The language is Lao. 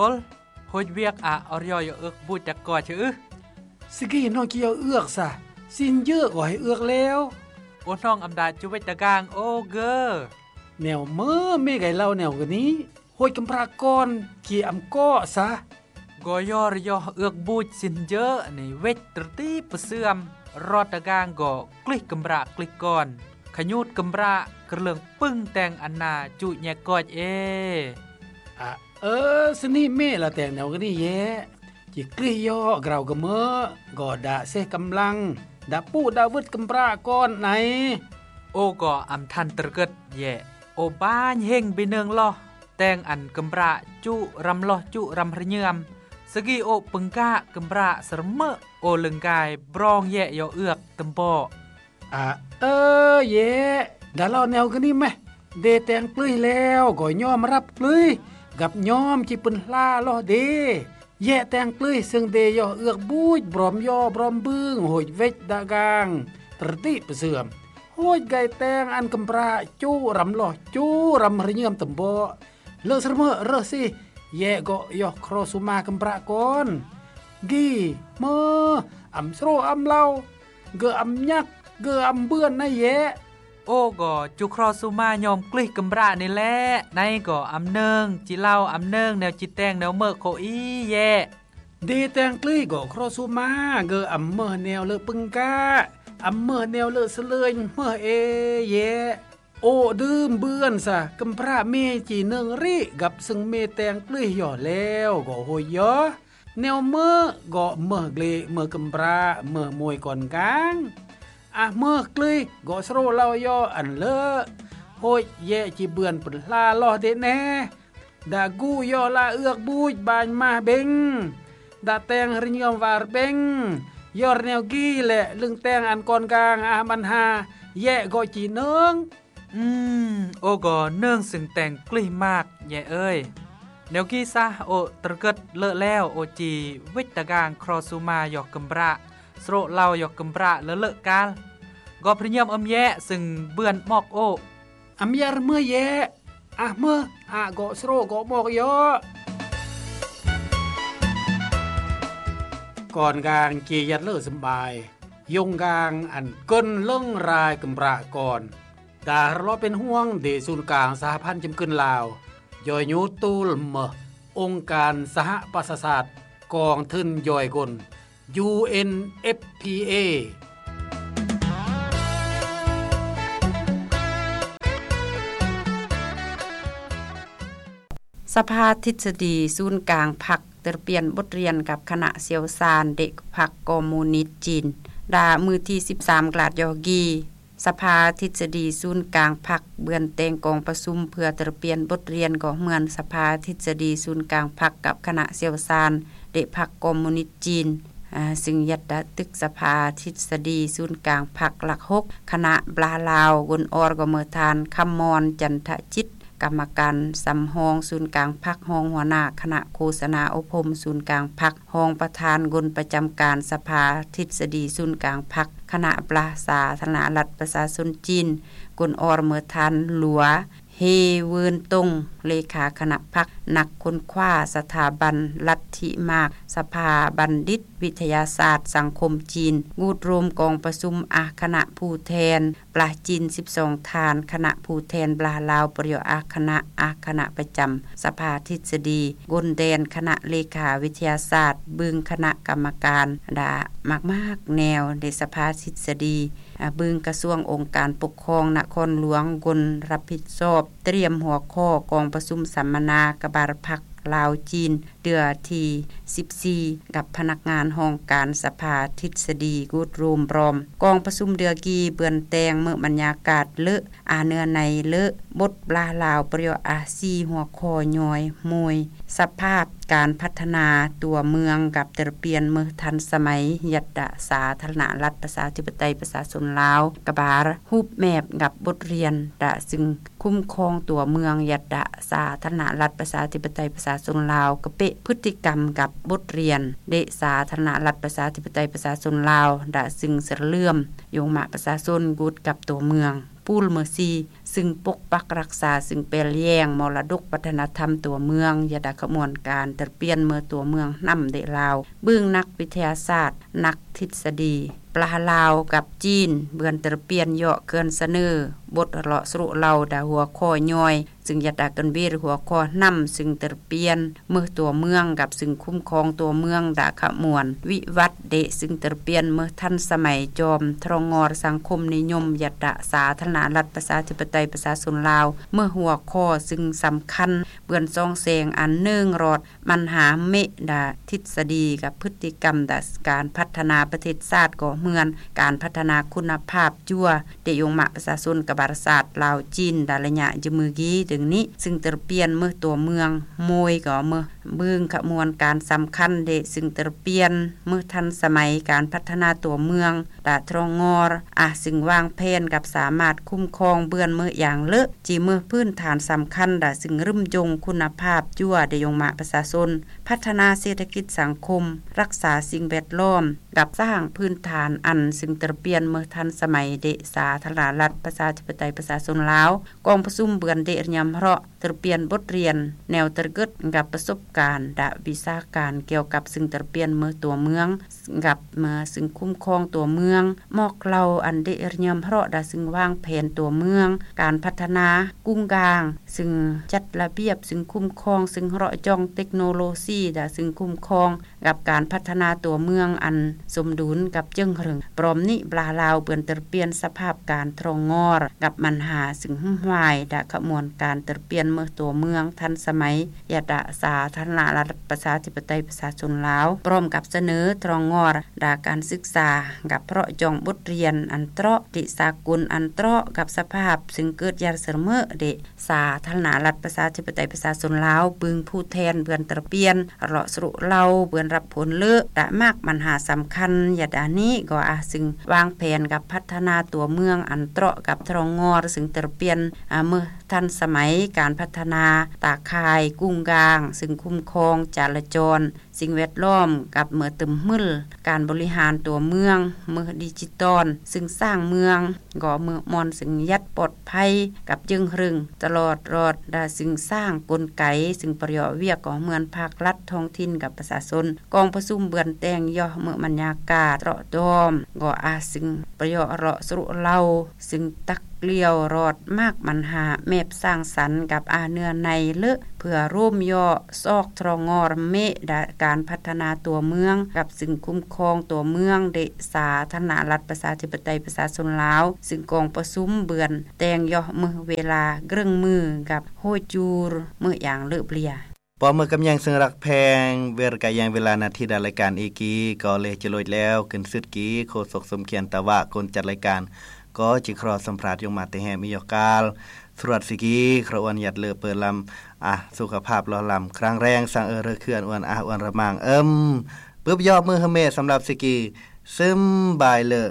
Ôl, hôi việc ả ổ roi ước buch đã coi chứ ư? Sigi nong ki yor ước sa, xin djơ gọi ước leo. Ô nong âm đã chú vết đã gang ô gơ. Nẻo mơ mê gai lau nẻo gơ ní, hôi kâm pra con ki âm cọ sa. Gơ yor yor ước buch xin djơ ní vết trơ tí pơ sưam, rọt đã gang gơ klih kâm pra klih con. Khă nhút kâm pra kơ lương pưng teng ăn na chú nhẹ coi ê. Ă, ơ, sơ ni mê la teng nẻo gơ ní yê. Chi klih yŏ grâu gơmơ, gŏ đă sêh kăm lăng, đă pŭ đă wưt kơm pră kon nây. Ô gŏ âm thăn tơrgơt yĕ. Ô banh hêng bi nơng loh, teng ăn kơm pră chu răm loh chu răm hrơnhơm. Sơgi ô pơng gă kơm pră sơrmơ̆ ô lưng gai brong yĕ yŏ ưk tơm bŏ. Ă, ơ, yĕ, đa lo neo gơni meh. Đê teng plưih leo, gŏ nhom răp plưih, găp nhom chi pưn hla loh đê. Yĕ teng plưih sưng đê yŏ ưk buch, brom yŏ, brom bưng, hôch wĕch đa gang, trơti pơsưm. Hôch gai teng ăn kơm pră, chu răm loh, chu răm hrơnhơm tơm bŏ. Lơ sơrmơ̆ rơh sih, yĕ gŏ yŏ khro suma kơm pră kon. Gi, mơ, âm srô âm lau, gơ âm nhăk, gơ âm bươn nây yĕ. Ô gŏ chu khro suma nhom klưih kơm pră nây lĕ, nây gŏ âm nơng, chi lau âm nơng, neo chi teng neo mơ̆ khô i yĕ. Đê teng klưih gŏ khro suma, gơ âm mơh neo lơ pưng gă, âm mơh neo lơ sơlơnh mơh ê yĕ. Ô đưm bươn sa, kơm pră mê chi nơng rĭ, găp sưng mê teng klưih yŏ leo, gŏ hôi yŏ. Neo mơ̆ gŏ mơh glĕ, mơh kơm pră, mơh môi kon gang. Ah mơh klưih, gŏ srô lau yŏ ăn lơ. Hôi yĕ chi bươn pưn hla loh đê nê. Đa gu yŏ la ưk buch banh mah bêng. Đa teng hrơnhơm war bêng. Yŏr neo gi lĕ lưng teng ăn kon gang ah băn ha. Yĕ gŏ chi nơng. Ưm, ô gŏ nơng sưng teng klưih mak, yĕ ơi. Neo gi sah ô tơrgơt lơ leo ô chi wĕch đa gang khro suma yŏ kơm pră, srô lau yŏ kơm pră lơ lơ kal. Gŏ hrơnhơm âm yĕ sưng bươn mŏk ô. Âm yĕ rơmơ yĕ, ah mơh, ah gŏ srô gŏ mŏk yŏ. Kon gang chi yăt lơ sơm bai, yŏng gang ăn kơn lơng rai kơm pră kon. Đa rlo pên huang đê sun kang Sahapăn Chưm Kưn Lao, yŏi nhu tul mơh ông kan Sahapasasat, kong thưn yŏi gôn, UNFPA. ສະພາທິດສະດີສູນກາງພັກ ເຕີລະປ່ຽນບົດຮຽນກັບຄະນະຊ່ຽວຊານເດະພັກຄອມມູນິດຈີນ ດາ ມື້ທີສິບສາມ ກະລາດຢໍກີ. ສະພາທິດສະດີສູນກາງພັກ ເບືອນແຕ່ງກອງປະຊຸມເພື່ອເຕີລະປ່ຽນບົດຮຽນ ກໍເໝືອນສະພາທິດສະດີສູນກາງພັກກັບຄະນະຊ່ຽວຊານເດະພັກຄອມມູນິດຈີນ ອາ ຊຶ່ງຍັດຕະຕຶກສະພາທິດສະດີສູນກາງພັກຫຼັກຫົກ ຄະນະບລາລາວ ກົນອອລ ກໍເໝີທ່ານ ຄຳມອນ ຈັນທະຈິດ ກຳມະການສຳຮອງສູນກາງພັກ, ຮອງຫົວໜ້າຄະນະໂຄສະນາອົບຮົມສູນກາງພັກ, ຮອງປະທານກົນປະຈຳການສະພາທິດສະດີສູນກາງພັກ, ຄະນະບລາສາທາລະນະລັດປະຊາຊົນຈີນ, ກົນອອລ ເໝີທ່ານ ຫຼວ ເຮເວີນຕົງ ເລຂາຄະນະພັກ, ນັກຄົ້ນຄວ້າສະຖາບັນລັດທິມາກ, ສະພາບັນດິດວິທະຍາສາດສັງຄົມຈີນ, ກູດໂຮມກອງປະຊຸມອາຄະນະຜູ້ແທນ ປະລາຈີນສິບສອງທ່ານ, ຄະນະຜູ້ແທນປະລາລາວປະລິວອາຄະນະ, ອາຄະນະປະຈຳສະພາທິດສະດີ, ກົນແດນຄະນະເລຂາວິທະຍາສາດ, ບຶງຄະນະກຳມະການ ດາ ມາກໆແນວໃນສະພາທິດສະດີ, ອາ ບຶງກະຊວງອົງການປົກຄອງນະຄອນຫຼວງ, ກົນຮັບຜິດຊອບຕຽມຫົວຂໍ້ກອງປະຊຸມສຳມະນາກະບາລະພັກລາວຈີນ ເທື່ອທີສິບສີ່ ກັບພະນັກງານຫ້ອງການສະພາທິດສະດີກູດໂຮມບຣອມ. ກອງປະຊຸມເດືອກີເບືອນແຕ່ງເໝີບັນຍາກາດເລີ ອາເນື້ອໃນເລີ ບົດບລາລາວປະໂຫຍດອາຊີຫົວຂໍ້ຍ່ອຍ ມວຍ ສະພາບການພັດທະນາຕົວເມືອງກັບເຕີລະປ່ຽນເໝີທັນສະໄໝ ຍັດຕະສາທາລະນະລັດປະຊາທິປະໄຕປະຊາຊົນລາວ ກະບາລ ຮູບແບບກັບບົດຮຽນ ດະ ຊຶ່ງ ຄຸ້ມຄອງຕົວເມືອງ ຍັດຕະສາທາລະນະລັດປະຊາທິປະໄຕປະຊາຊົນລາວ ກະເປະພຶດຕິກຳກັບບົດຮຽນ ເດະສາທາລະນະລັດປະຊາທິປະໄຕປະຊາຊົນລາວ ດະ ຊຶ່ງສະເຫຼີມຍົງມະປະຊາຊົນກູດກັບຕົວເມືອງ ປູລເມີຊີ ຊຶ່ງປົກປັກຮັກສາ ຊຶ່ງແປແຍງມໍລະດົກວັດທະນະທຳຕົວເມືອງ ຢາດາຂະມວນການເຕີບປ່ຽນເມືອຕົວເມືອງນຳເດລາວ. ເບື້ອງນັກວິທະຍາສາດ, ນັກທິດສະດີ ປາລາວກັບຈີນ ເບືອນເຕີບປ່ຽນເຍາະເຄື່ອນສະເໜີ ບົດເລາະສະຫຼຸເລົ່າດາຫົວຂໍ້ຍ່ອຍ ຊຶ່ງຢາດາກັນເວດຫົວຂໍ້ນຳ ຊຶ່ງເຕີບປ່ຽນເມືອຕົວເມືອງ ກັບຊຶ່ງຄຸ້ມຄອງຕົວເມືອງດາຂະມວນວິວັດເດ ຊຶ່ງເຕີບປ່ຽນເມືອທັນສະໄໝຈອມທຣອງງອຣສັງຄົມນິຍົມ ຢາດາສາທາລະນະລັດປະຊາທິປະໄຕປະຊາຊົນລາວ ເມືອຫົວຂໍ້ຊຶ່ງສຳຄັນ ເບືອນສ່ອງແສງອັນເນີງຣອດ ບັນຫາເມດາທິດສະດີກັບພຶດຕິກຳດາການພັດທະນາປະເທດຊາດກໍເໝືອນ ການພັດທະນາຄຸນນະພາບຈົວ ເດຍົງມະປະຊາຊົນກັບບາລະສາດລາວຈີນດາໄລຍະຍືມມືກີ ດັ່ງນີ້ ຊຶ່ງເຕີບປ່ຽນເມືອຕົວເມືອງໂມຍກໍເມືອເບື້ອງຂະມວນການສຳຄັນເດ ຊຶ່ງເຕີບປ່ຽນເມືອທັນສະໄໝການພັດທະນາຕົວເມືອງ ດາທຣອງງອຣ ອາ ຊຶ່ງວາງແຜນກັບສາມາດຄຸ້ມຄອງເບືອນເມືອຢ່າງເລີ ຈີເມືອພື້ນຖານສຳຄັນດາ ຊຶ່ງລຶ້ມຍົງຄຸນນະພາບຈົວ ເດຍົງມະປະຊາຊົນ ພັດທະນາເສດຖະກິດສັງຄົມ ຮັກສາສິ່ງແວດລ້ອມ ກັບສ້າງພື້ນຖານອັນ ຊຶ່ງເຕີບປ່ຽນເມືອທັນສະໄໝເດ ສາທາລະນະລັດປະຊາທິປະໄຕປະຊາຊົນລາວ. ກອງປະຊຸມເບືອນເດຮຽມເຮາະ ເຕີບປ່ຽນບົດຮຽນແນວຕະເກີດກັບປະສົບການດາວິຊາການກ່ຽວກັບຊຶ່ງເຕີບປ່ຽນເມືອຕົວເມືອງ ກັບເມືອຊຶ່ງຄຸ້ມຄອງຕົວເມືອງ ໝອກເລົ່າອັນເດຮຽມເຮາະດາ ຊຶ່ງວາງແຜນຕົວເມືອງ ການພັດທະນາກຸງກາງ ຊຶ່ງຈັດລະບຽບ ຊຶ່ງຄຸ້ມຄອງ ຊຶ່ງເລາະຈ້ອງເຕັກໂນໂລຊີດາ ຊຶ່ງຄຸ້ມຄອງ ກັບການພັດທະນາຕົວເມືອງອັນສົມດຸນກັບເຈິງເຮິງ. ພ້ອມນີ້ ບລາລາວເບືອນເຕີບປ່ຽນສະພາບການທຣອງງອຣ ກັບບັນຫາຊຶ່ງຫຸ້ມຫວາຍດາຂະມວນການເຕີບປ່ຽນເມືອຕົວເມືອງທັນສະໄໝ ຢາດາສາທາລະນະລັດປະຊາທິປະໄຕປະຊາຊົນລາວ ພ້ອມກັບສະເໜີທຣອງງອຣ ດາການສຶກສາ ກັບເລາະຈ້ອງບົດຮຽນອັນເຕາະ ຕິສາກົນອັນເຕາະ ກັບສະພາບຊຶ່ງເກີດຢ່າງສະເໝີເດ ສາທາລະນະລັດປະຊາທິປະໄຕປະຊາຊົນລາວ ບຶງຜູ້ແທນເບືອນຕະປ່ຽນ ເລາະສະຫຼຸເລົ່າ ເບືອນຮັບຜົນເລີ ດາມາກບັນຫາສຳຄັນ ຢາດານີ້ກໍອາ ຊຶ່ງວາງແຜນກັບພັດທະນາຕົວເມືອງອັນເຕາະກັບທຣອງງອຣ ຊຶ່ງເຕີບປ່ຽນ ອາ ເມືອທັນສະໄໝ ການພັດທະນາຕາຂ່າຍກຸງກາງ ຊຶ່ງຄຸ້ມຄອງຈະລາຈອນ ສິ່ງແວດລ້ອມ ກັບເມືອຕຶມມຶນ ການບໍລິຫານຕົວເມືອງ ເມືອດິຈິຕອນ ຊຶ່ງສ້າງເມືອງກໍເມືອມ່ອນ ຊຶ່ງຍັດປອດໄພ ກັບເຈິງເຮິງຕະຫຼອດລອດ ແລະ ຊຶ່ງສ້າງກົນໄກ ຊຶ່ງປະໂຫຍດວຽກກໍເໝືອນພາກລັດທ້ອງຖິ່ນກັບປະຊາຊົນ. ກອງປະຊຸມເບືອນແຕ່ງຍໍເມືອບັນຍາກາດເລາະດອມ ກໍອາ ຊຶ່ງປະໂຫຍດເລາະສະຫຼຸເລົ່າ ຊຶ່ງຕັກກ້ຽວລອດມາກບັນຫາແມບສ້າງສັນກັບອາເນື້ອໃນເລີ ເພື່ອໂຮມຍໍຊອກທຣອງງອຣເມດາການພັດທະນາຕົວເມືອງ ກັບຊຶ່ງຄຸ້ມຄອງຕົວເມືອງເດ ສາທາລະນະລັດປະຊາທິປະໄຕປະຊາຊົນລາວ ຊຶ່ງກອງປະຊຸມເບືອນແຕ່ງຍໍເມືອເວລາເກິ່ງມືກັບໂຮຍຈູຣເມືອຢ່າງເລີບເລຍ. ປອມເມືອກຳແຍງເຊິ່ງລັກແພງ ເວລາກາຍແຍງເວລານາທີດາລາຍການອີກີ ກໍເລຈະໂລຍແລ້ວ ຂຶ້ນສຸດກີ ໂຄສົກສົມຄຽນຕາວະ ຄົນຈັດລາຍການ ກໍຈິຄຣອສຳພາດຍົງມາແຕ່ແຮມອີຢອກກາລ ສະຫວັດດີກີ ຄຣອອນຍັດເລີເປີລຳ ອາ ສຸຂະພາບຫຼໍ່ລຳ ຄຣາງແຮງ ສັງເອີເຣເຂື່ອນ ອວນອາ ອວນລະມັງ ເອີມ ປຶບຢອບມືເຮີເມ ສຳລັບຊີກີ ຊຶມບາຍເລີ